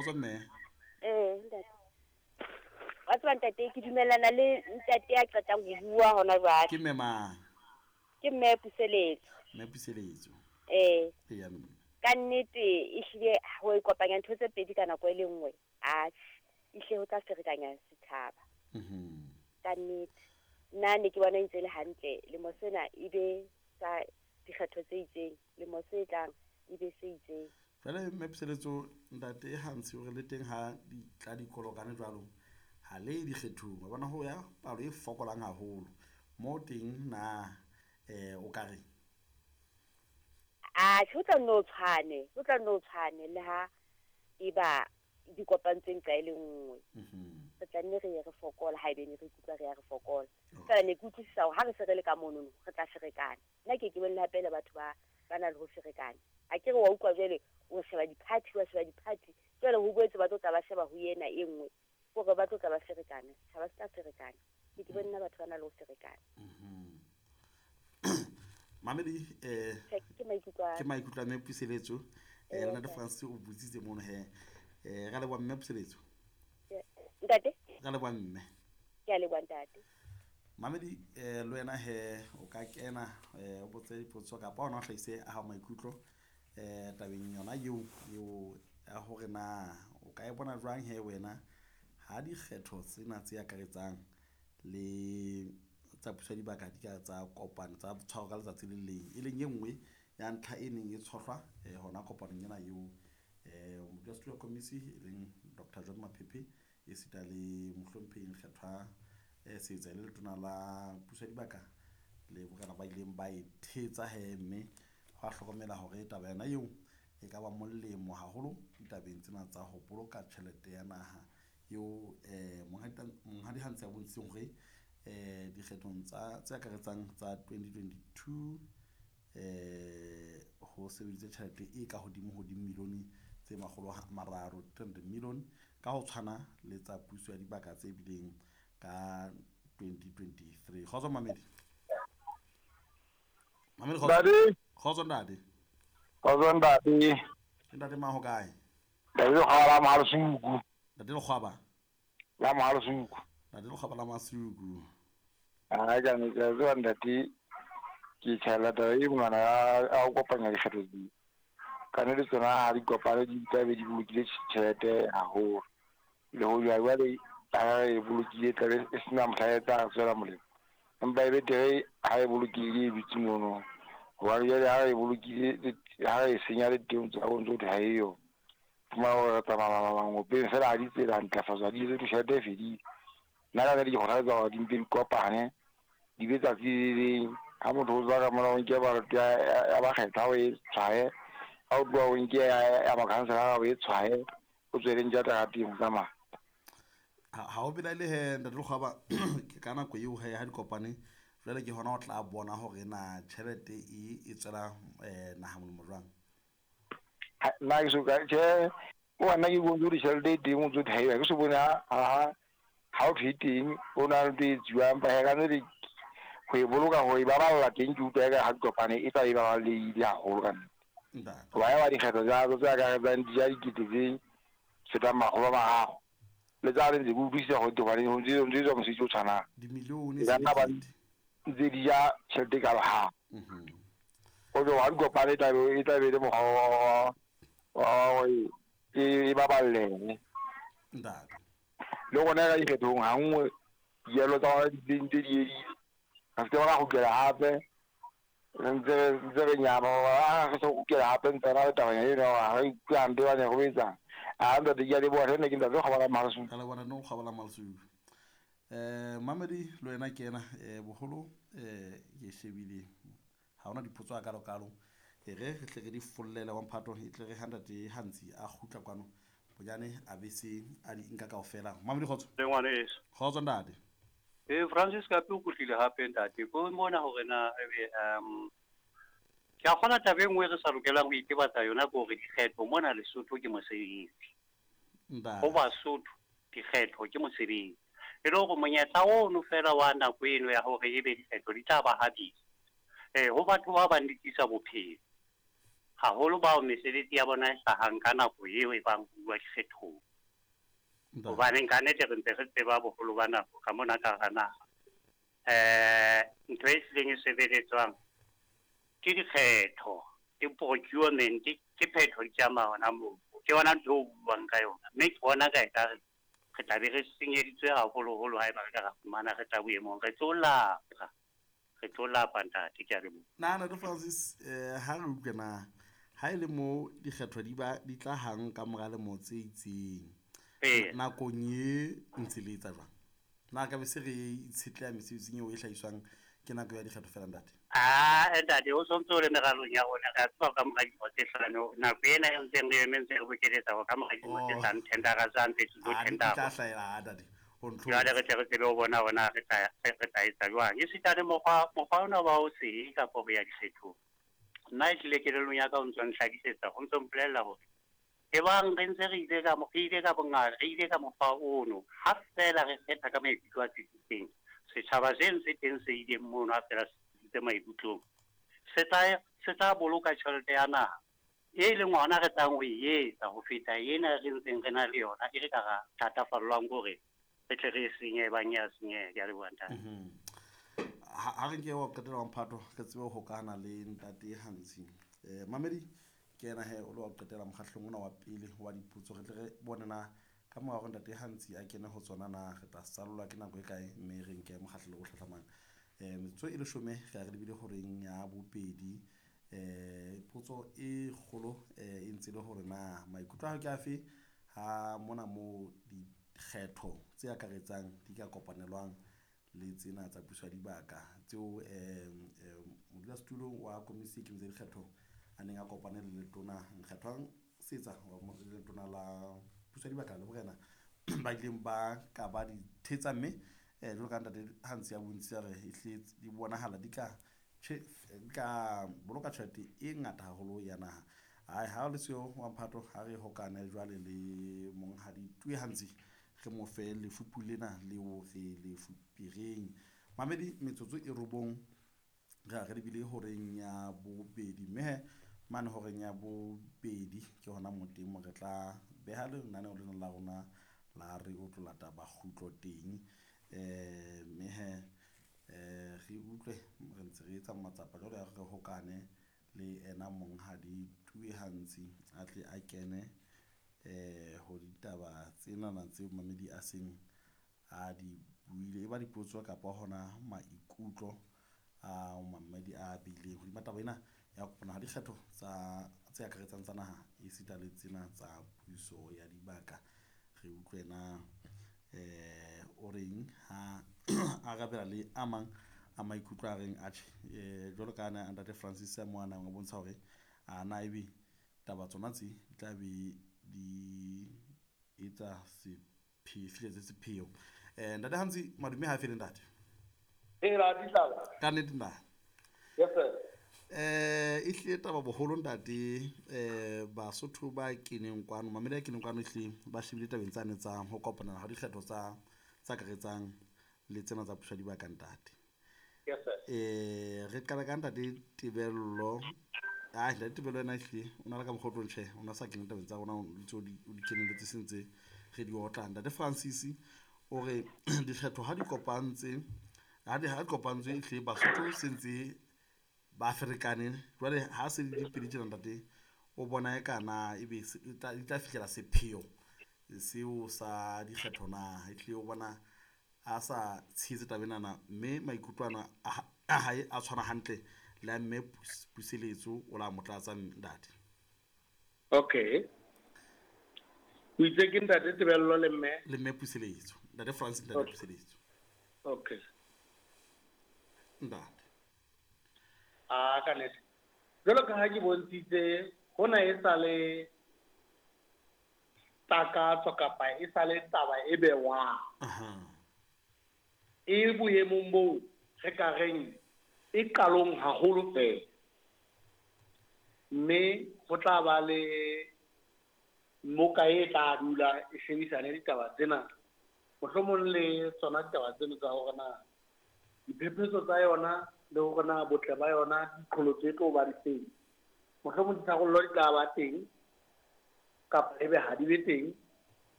Kgotso mme. Ee, ntate. Wa tseba ntate, ke dumellana le ntate ya qetang ho bua hona jwale. Ke mme mang? Ke mme Puseletso. Mme Puseletso. Ee. Eya mme. Ka nnete ehlile ho ikopanya ntho tse pedi ka nako e le nngwe, atjhe, ehlile ho tla ferekanya setjhaba. Ka nnete. Nna ne ke bona e ntse e le hantle lemo sena e be sa dikgetho tse itseng, lemo se tlang e be se itseng. Jwale mme Puseletso, ntate Hansi o re le teng ha di tla dikolokane jwalo, ha le ye dikgethong. Wa bona ho ya palo e fokolang haholo. Moo teng na o ka reng? Atjhe, ho tla nne o tshwane, ho tla nne o tshwane le ha eba di kopantswe nqa e le nngwe. Re tla nne re ye re fokola haebe ne re ikutlwa re ya re fokola. Feela ne ke utlwisisa hore ha re se re le ka monono re tla ferekana. Nna ke ke bone le hape le batho ba ba na le ho ferekana. A ke re wa utlwa jwale o sheba di-party, wa sheba di-party. Jwale ho boetse ba tlo tla ba sheba ho ena e nngwe. Kore ba tlo tla ba ferekana, setjhaba se tla ferekana. Ke ke bone nna batho ba na le ho ferekana. Mamedi Che, ke maikutlo a ke maikutlo a mme Puseletso. Ee, Ntate ntate. Francis o botsitse mono he. Ra leboha mme Puseletso. Ntate? Ra leboha mme. Ke a leboha ntate. Mamedi le wena he o ka kena o botse dipotso kapa ona o hlahise a hao maikutlo tabeng yona eo eo ya hore na o ka e bona jwang he wena ha dikgetho tsena tse akaretsang le tsa puso ya dibaka di ka tsa kopana tsa tshwaro ka letsatsi le leng, e leng e nngwe ya ntlha e neng e tshohlwa hona kopanong ena eo modulasetulo wa komisi e leng Dr John Maphephe esita le mohlomphehi Nkgethwa Seetsa le letona la puso ya dibaka le borena ba ileng ba e thetsa he, mme hwa hlokomela hore taba yona eo e ka ba molemo haholo ditabeng tsena tsa ho boloka tjhelete ya naha eo monghadi Hansi a bontshitseng hore dikgethong tsa tse akaretsang tsa 2022 ho sebeditse tjhelete e ka hodimo ho dimilione tse makgolo a mararo, 300 million, ka ho tshwana le tsa puso ya dibaka tse bileng ka 2023. Kgotso Mamedi. Mamedi kgotso. Ntate. Kgotso ntate. Kgotso ntate. Ke ntate mang ho kae? Ntate Lekgwaba la Mohalasuku. Ntate Lekgwaba. La Mohalasuku. Ntate Lekgwaba la Masuku. Ha ka ne ke tseba ntate ke tjhaela taba e ngwana a ho kopanya dikgetho di. Ka ne le tsona ha di kopane di tla be di bolokile tjhelete haholo. Le ho jwa jwale ha e bolokile tla be e sena mohla e tla tswela molemo. Empa e betere ha e bolokile e dutse mono. Hobane jwale ha e bolokile ha e senya le teng tsa go ntso ha e yo. Fumana hore re tsamaya mangopeng fela ha di tsela ntlafatswa di etse tjhelete e fedile. Nna ka nnete ke kgothaletsa hore di mpe di kopane di be tsatsi le leng. Ha motho o tswa ka mona o nke baloto ya bakgethwa o e tshwaye, ha o tloha o nke ya makhanselara o e tshwaye, o tswele ntja terateng o tsamaya. Ha o belaele he ntate Lekgwaba ke ka nako eo he ha di kopane jwale ke hona o tla bona hore na tjhelete e tswela naha molemo jwang. Nna ke so ka tjhe o nna ke bontshe hore tjhelete e teng o ntso thaeba ke so bone ha ha o thwe teng o na le ntho e etsuwang empa he ka nnete ho e boloka ho e baballa teng ke utlwa eka ha di kopane e tla e baballehile haholo ka nnete. Hoba ya ba dikgetho tsa tse akaretsang di ja dikete tse fetang makgolo a mararo le tsa ntse ke utlwisisa hore hobane ho ntse etswa mosebetsi o tshwanang. Dimilione E ka nna ba ntse di ja tjhelete e kalo ha. O tlo ha di kopane e tla be e le mokgwa wa hore e baballehe. Ntate. Le rona ka dikgethong ha nngwe dijalo tsa rona di ntse di edile. Re se ke ra kgutlela hape re ntse re nyama ha re so kgutlela hape ntse ra le tabanyana eno ya hore ha re ikutlwe hampe bane re o etsang. A ntate ke a leboha hle nna ke ntate Lekgwaba la Malasuku. Ra leboha ntate Lekgwaba la Malasuku. Mamedi le wena ke ena boholo ke shebile ha hona dipotso a kalo kalo. E re re tle re di follele wa mphato e tle re ha ntate Hansi a kgutla kwano bonyane a be se a di nka kaofela. Mamedi kgotso. Le ngwaneso. Kgotso ntate. Francis Kapi o kgutlile hape ntate. Ko mona hore na ebe ke a kgona taba e nngwe re sa lokelang ho itebatsa yona ke hore dikgetho mona Lesotho ke mosebetsi. Ho Basotho dikgetho ke mosebetsi. E le hore monyetla ono fela wa nako eno ya hore ebe dikgetho di tla ba habedi. Ho batho ba bang di tlisa bophelo. Haholo bao mesebetsi ya bona e hlahang ka nako eo e bang ho bua dikgethong. Hobaneng ka nnete re ntse re tseba boholo ba nako ka mona ka hara naha. Ntho e hlileng e sebeletswang ke dikgetho, ke procurement, ke phetho di tsamaya hona moo. Ke yona ntho eo buang ka yona. Mme ke bona ka ekare re tla be re senyeditswe haholoholo haeba re ka ra fumana re tla boemong. Re tlo lapa. Re tlo lapa ntate, ke a leboha. Na Ntate Francis, ha re utlwe na ha e le mo dikgetho di ba di tla hang ka mora lemo tse itseng. Nakong e ntse le etsa jwang? Na ka be se re itshetleha mesebetsing eo e hlahiswang ke nako ya dikgetho fela ntate? Ntate, o sontso o le meralong ya rona, re a tseba ka mora dilemo tse hlano, nako ena e ntseng re eme ntse re bokeletsa hore ka mora dilemo tse hlano tendera tsa ntse di tlo tendera. Di tla hlahela, ntate. Jwale re tle re tsebe ho bona hore na re tla etsa jwang. Esita le mokgwa ona wa ho se kapa ho ya dikgethong. Nna ehlile kelellong ya ka o ntso nhlakisetsa, o ntso mpolella hore ebang re ntse re ile ka bongata, re ile ka mokgwa ono, ha feela re kgetha ka maikutlo a tsitsitseng, setjhaba se ntse teng se ileng mono ha feela se tsitsitse maikutlong, se tla boloka tjhelete ya naha e leng hona re tlang ho e etsa ho feta ena re ntseng re na le yona, e re ka ra thatafallwang hore re tle re e senye ebang ya senyeha. Ke a leboha ntate. Ha re nke wa qetela wa mphato, re tsebe ho hokahana le ntate Hantsi. Mamedi, ke yena he o le wa qetela mokgahlelong ona wa pele wa dipotso, re tle re bone na ka mora hore ntate Hantsi a kene ho tsona na re tla sallwa ke nako e kae, mme re nke mokgahlelo o hlahlamang. Metsotso e leshome re a re lebile horeng ya bobedi. Potso e kgolo e ntse le hore na maikutlo a hao ke afe ha mona moo dikgetho tse akaretsang di ka kopanelwang le tsena tsa puso ya dibaka tseo modulasetulo wa komisi e ikemetseng dikgetho a neng a kopane le letona Nkgethwang Setsa wa letona la puso ya dibaka le borena ba ileng ba ka ba di thetsa, mme jwalo ka ntate Hantsi a bontshitse hore ehlile di bonahala di ka boloka tjhelete e ngata haholo ya naha. Ai ha le seo wa mphato, ha re hokane jwale le monghadi Tue Hantsi, re mo fe lefupu lena leo re le fupereng. Mamedi, metsotso e robong re a re lebile horeng ya bobedi, mme mane horeng ya bobedi ke hona mo teng mo re tla beha lenaneo lena la rona la re o tlo lata bakgutlo teng. Mme he re utlwe re ntse re etsa matsapa jwale ya re hokane le ena monghadi Tue Hantsi a tle a kene ho ditaba tsenana tseo mamedi a seng a di buile, e ba dipotso kapa hona maikutlo a mamedi a bileng hodima taba ena ya kopana ha dikgetho tsa tse akaretsang tsa naha esita le tsena tsa puso ya dibaka. Re utlwe na o reng ha arabela le a mang a maikutlo a reng atjhe, jwalo ka ana ntate Francis a mo a nang a bontsha hore a na ebe taba tsona tse di tla be di etsa fihletse sepheo. Ntate Hantsi, madume ha fele ntate. Ka nnete ntate. Yes sir. Ehlile taba boholo ntate, Basotho ba keneng kwano, mamedi a keneng kwano ehlile ba shebile tabeng tsane tsa ho kopanela ha dikgetho tsa akaretsang le tsena tsa puso ya dibaka ntate. Yes sir. Re qala ka ntate Tebello. Ntate Tebello ena ehlile o na le ka mokgwa o tlo ntjhe, o na sa kene tabeng tsa rona, o ntse o di kenelletse se ntse re di otla. Ntate Francis o re dikgetho ha di kopantse, ha di kopantswe ehlile Basotho se ntse ba ferekane. Jwale ha se di pedi tjena ntate, o bona e kana ebe di tla fihlela sepheo seo sa dikgetho na? Ehlile o bona a sa tshehetse taba enana, mme maikutlo ana a hae a tshwana hantle le a mme Puseletso o la mo tlatsa ntate. Okay. O itse ke ntate Tebello le mme? Le mme Puseletso. Ntate Francis, ntate Puseletso. Okay. Ntate. Ka nnete. Jwalo ka ha ke bontshitse, hona e sa le takatso kapa e sa le taba e bewang. E boemong boo re ka reng e qalong haholo fela. Mme ho tla ba le moka e tla dula e shebisane ditaba tsena, mohlomong le tsona ditaba tseno tsa hore na diphephetso tsa yona le hore na botle ba yona diqholotso e tlo ba di feng. Mohlomong ditharollo di tla ba teng kapa ebe ha di be teng.